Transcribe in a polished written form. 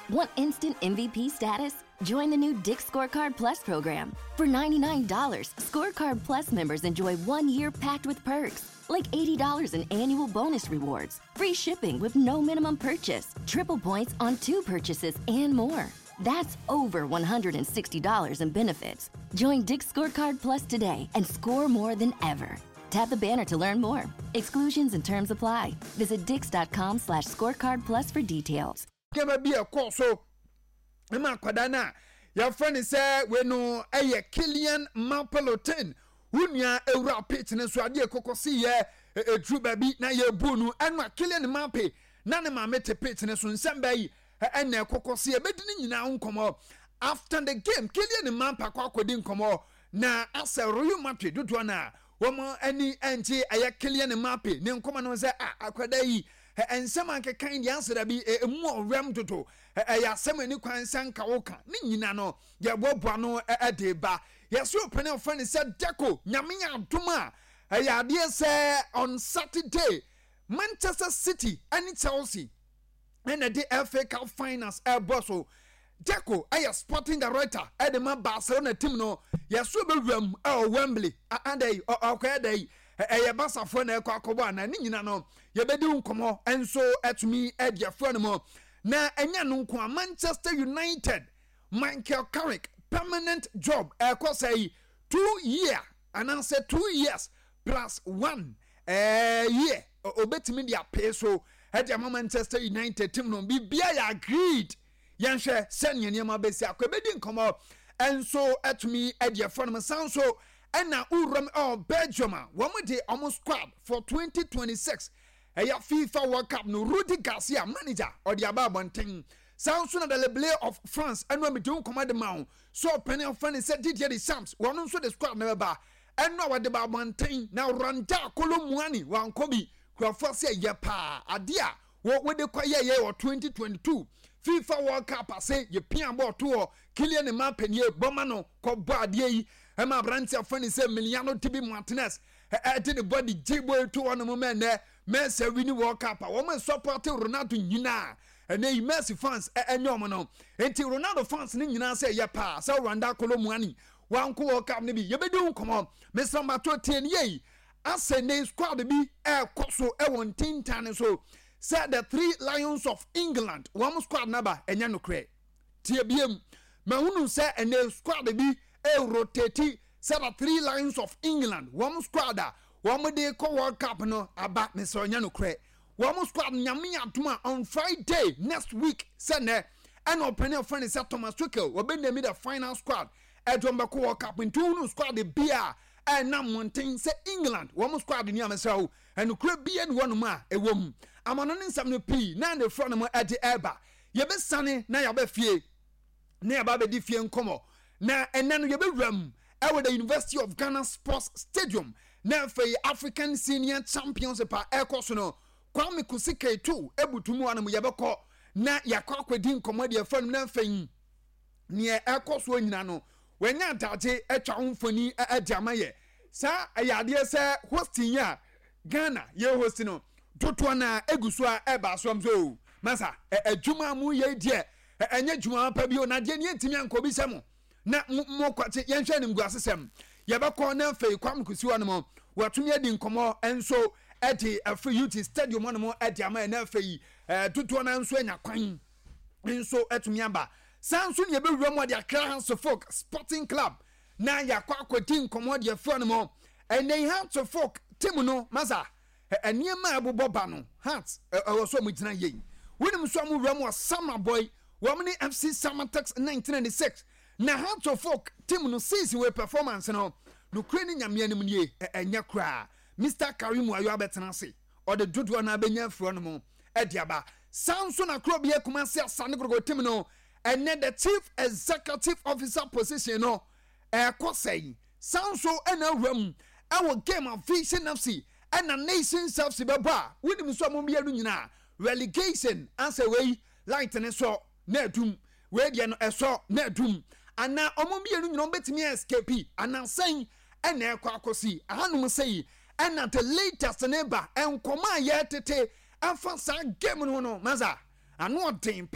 Want instant MVP status? Join the new Dick's Scorecard Plus program. For $99, Scorecard Plus members enjoy 1 year packed with perks, like $80 in annual bonus rewards, free shipping with no minimum purchase, triple points on two purchases, and more. That's over $160 in benefits. Join Dick's Scorecard Plus today and score more than ever. Tap the banner to learn more. Exclusions and terms apply. Visit dicks.com/scorecardplus for details. Nneɛma bi ɛkɔɔ so ma akwadaa no a yɛfrɛ no sɛ wei no ɛyɛ Kylian Mbappe Lottin, wo nua ewura pitch no so, adeɛ kɔkɔ si yɛ eduru baabi na yɛbu no. Ɛno a Kylian Mbappe na ne maame te pitch no so, nsɛm bɛyi ɛna ɛkɔkɔ si, ɛbɛdi ne nyinaa nkɔmɔ after the game. Kylian Mbappe akɔ akɔdi nkɔmɔ na asɛ Real Madrid dodoɔ no a wɔn ani nkye ɛyɛ Kylian Mbappe ne nkɔmɔ no sɛ a akwadaa yi nsɛm akekan deɛ asɛ bi emu ɔwɛm dodo, ɛyɛ asɛm ani kwan sɛ nka woka ne nyina no yɛboaboa no ɛde ba. Yɛsɛ ɔpɛne ɔfrɛ no sɛ Deco, Nyame yɛ adom a, ɛyɛ adeɛ sɛ on Saturday Manchester City ɛne Chelsea ɛna de FA Cup finals ɛbɔ so. Deco ɛyɛ sporting director ɛde ma Barcelona team no. Yɛso bɛwuram ɛwɔ Wembley adɛ ɔkɔyɛ dɛ yi ɛyɛ Basafoɔ na ɛkɔ akɔbɔ ana ne nyina no, yɛbɛdi nkɔmmɔ nso ɛtumi ɛde afoɔ no mu. Na ɛnyɛ no nko a, Manchester United Michael Carrick permanent job ɛkɔ sɛ yi 2 year anaasɛ 2 years plus one year obetumi de apee so ɛde ama Manchester United team no. Biribiara yɛ agreed. Yɛnhwɛ sɛnea nneɛma bɛsi akɔ, ebɛdi nkɔmmɔ nso ɛtumi ɛde ɛfɔ no san so. Ɛna wuram ɛwɔ Belgium a wɔn de wɔn squad for 2026 ɛyɛ FIFA World Cup no, Rudi Garcia manager ɔde aba abɔnten. Saa nso na the Le of France ɛno a mede nkɔmɔ de ma wo so, ɔpanin afɔ ne sɛ Didier Deschamps, wɔn nso de squad no bɛba. Ɛno a wɔde ba abɔnten na Randal Kolo Muani wankɔ bi. Kurɔfoɔ sɛ yɛ paa adeɛ a wɔde kɔ yɛyɛ wɔ 2022 FIFA World Cup ase, yɛpia bɔɔl to hɔ, Kylian Mbappe nie bɔma no kɔbɔ adeɛ yi ɛma aberanteɛ afɔ ne sɛ Emiliano Tibi Martinez ɛde ne bɔde gye bɔ to hɔ nom mɛ nnɛ Messi win World Cup a wɔn support Ronaldo nyinaa. Ɛnɛ yi Messi fans ɛnyɛ wɔn no, nti Ronaldo fans ne nyinaa sɛ yɛ paa sɛ Randal Kolo Muani wanko World Cup no bi. Yɛbɛdi ho nkɔmɔ. Mesra mbato tie ne yie asɛ ne squad bi ɛɛkɔ so ɛwɔ ntentan so sɛ the Three Lions of England wɔn squad naba, ɛnyɛ nokorɛ. Tie biem, mahunu sɛ ɛnɛ squad bi ɛrotate sɛ the Three Lions of England wɔn squad a wɔn de kɔ World Cup no aba. Mesɛ ɔnyɛ nokorɛ. Wɔn squad, Nyame adom a, on Friday next week sɛ nɛ ɛna ɔpɛni ɔfɛn ne sɛ Thomas Tuchel wɔbɛ name the final squad ɛde wɔn bɛkɔ World Cup. Nti wɔn squad bi a ɛnam mmɔnten sɛ England wɔn squad ni amesrɛ wo, ɛnukura bia ni wɔnom a ɛwɔ mu amano ne nsɛm no pii na ne fura no mu ɛde ɛɛba. Yɛbɛsane na yɛaba fie na yɛaba abɛdi fie nkɔmɔ, na ɛnɛ no yɛbɛwura mu ɛwɔ the University of Ghana Sports Stadium na afei African Senior Championship a ɛkɔ so no, Kwame Kusi Ketu ebutu mu anom. Yɛbɛkɔ na yɛakɔ akɔdi nkɔmɔ deɛ ɛfa no, na afei neɛ ɛkɔ soɔ nyina no wɔanya adagye atwa wo mfoni ɛde ama yɛ. Saa ɛyɛ adeɛ sɛ hosting a Ghana yɛ host no dodoɔ na egu so a ɛba so am so masa adwuma mu yɛ deɛ ɛnyɛ adwuma pa bi o, na deɛ ne yɛntumi ankɔ bi sɛ mo na mo kwate yɛnhwɛ ne ngu asesɛm. Yɛbɛkɔ na afei Kwame Kusi hɔ nom wɔatumi adi nkɔmmɔ nso ɛde afiri UT Stadium hɔ nom ɛde ama yɛ, na afei dodoɔ no nso anya kwan nso atumi aba. Saa nso ne yɛbɛwura mu ɔde Accra Hearts Folk Sporting Club na yɛakɔ akɔdi nkɔmmɔ deɛ firi no mu. Ɛnɛ yi Hearts Folk team no, masa, nneɛma a ɛbobɔ ba no, Hearts ɛwɔ so a wɔgyina yie. Wonim nso a wɔwura mu wɔ Samreboi, wɔn ne FC Samartex 1996. Na Hearts of Oak team no season wei performance no, nokura ne Nyame anim nie, ɛnyɛ koraa. Mr Karim Ayo abɛtena ase, ɔde dodoɔ no abɛnya afiri hɔ nom ɛde aba. Saa nso na kuro bi Kumasi Asante Kotoko team no, ɛnɛ the chief executive officer position no ɛkɔ sɛn. Saa nso ɛna awura mu ɛwɔ game of Vision FC ɛna Nations FC bɛbɔ a wonim nso a mo mmienu nyinaa relegation asɛ wei light ne sɔ na adum, wei deɛ no ɛsɔ na adum, anaa ɔmo mmienu nyinaa ɔmo bɛtumi escape anaasɛn ɛna ɛkɔ akɔsi ahanom sɛ yi. Ɛna the latest ne ba nkɔmɔ a yɛtete ɛfa saa game no no, masa ano ɔden pa.